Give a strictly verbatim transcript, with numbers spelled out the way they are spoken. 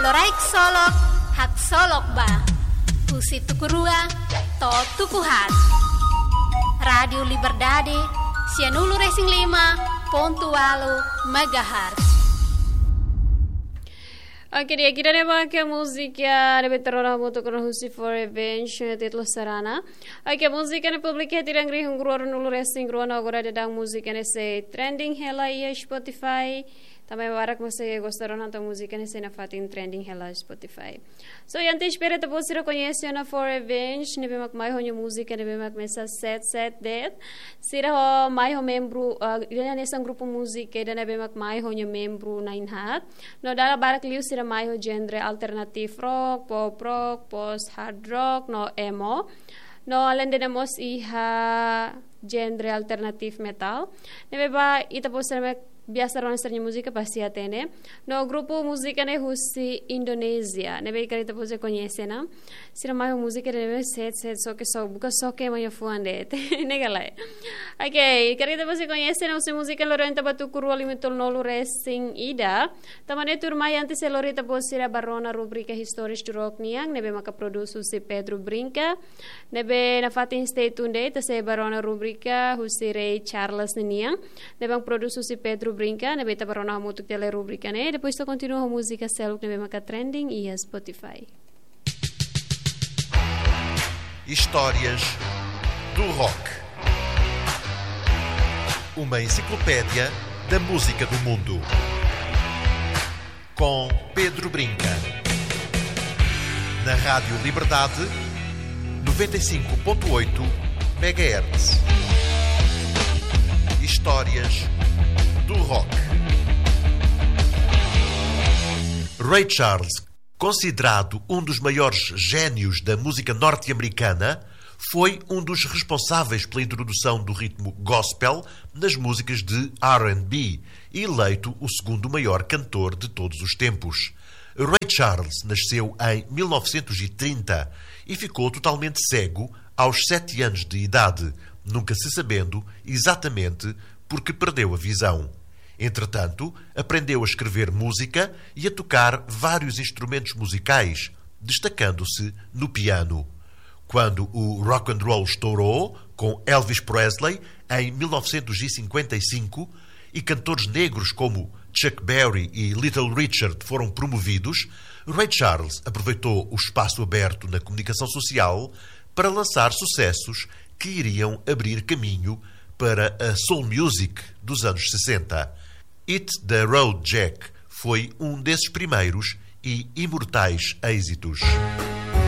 Loraik solok, haksolok ba. Husi tuku rua to'o tuku haat. Rádiu Liberdade, sianulu-resin-lima pontu ualu megahertz. Oke, di'ak, ida-ne'e mak múzika ne'ebé ita rona hamutuk ona husi Four Revenge, títulu Sarana. Oke, múzika ne'e publika iha tinan rihun rua ruanulu-resin-rua no agora daudaun múzika ne'e sei trending hela iha Spotify. Tanba barak mós sei gosta rona entaun múzika ne'e sei nafatin trending hela Spotify. So, entaun espera ita-boot sira koñese ona Four Revenge, ne'ebé mak mai ho nia múzika ne'ebé mak mesak Sad Sad Death. Sira ho mai ho membru, ah, ida-ne'e hanesan grupu múzika ida ne'ebé mak mai ho nia membru na'in-haat. No dala barak liu sira mai ho genre alternative rock, pop rock, post hard rock, no emo. No alende ne'e mós iha genre alternative metal. Ne'ebé ba ita-boot sira mak biasa rona sira-nia múzika pasti hatene. No grupu múzika ne'e husi Indonézia. Ne'ebé karik ita-boot sira koñese ona. Sira mai ho múzika ne'ebé sad, sad, só ke só, buka só ke mai ho fuan de'it. Ne'e ka lae. Oke, karik ita-boot sira koñese ona husi múzika lori ita ba tuku rua lima tolunulu-resin-ida. Tanba ne'e tuirmai antes de lori ita-boot sira ba rona rubrika Histórias do Rock nian, ne'ebé maka produs husi Pedro Brinca. Ne'ebé nafatin stay tuned de'it, ita sei ba rona rubrika husi Ray Charles ninian. Ne'ebé produs husi Pedro Brinca, ne'ebé ita ba rona hamutuk tiha lai rubrika ne'e. Depois ita kontinua ho múzika seluk ne'ebé maka trending iha Spotify. Histórias do Rock. Uma enciclopédia da música do mundo. Com Pedro Brinca. Na Rádio Liberdade, noventa e cinco ponto oito megahertz. Histórias do Rock. Ray Charles, considerado um dos maiores génios da música norte-americana, foi um dos responsáveis pela introdução do ritmo gospel nas músicas de R and B, eleito o segundo maior cantor de todos os tempos. Ray Charles nasceu em mil novecentos e trinta e ficou totalmente cego aos sete anos de idade, nunca se sabendo exatamente porque perdeu a visão. Entretanto, aprendeu a escrever música e a tocar vários instrumentos musicais, destacando-se no piano. Quando o rock and roll estourou com Elvis Presley em mil novecentos e cinquenta e cinco e cantores negros como Chuck Berry e Little Richard foram promovidos, Ray Charles aproveitou o espaço aberto na comunicação social para lançar sucessos que iriam abrir caminho para a soul music dos anos sessenta. Hit the Road Jack foi um desses primeiros e imortais êxitos.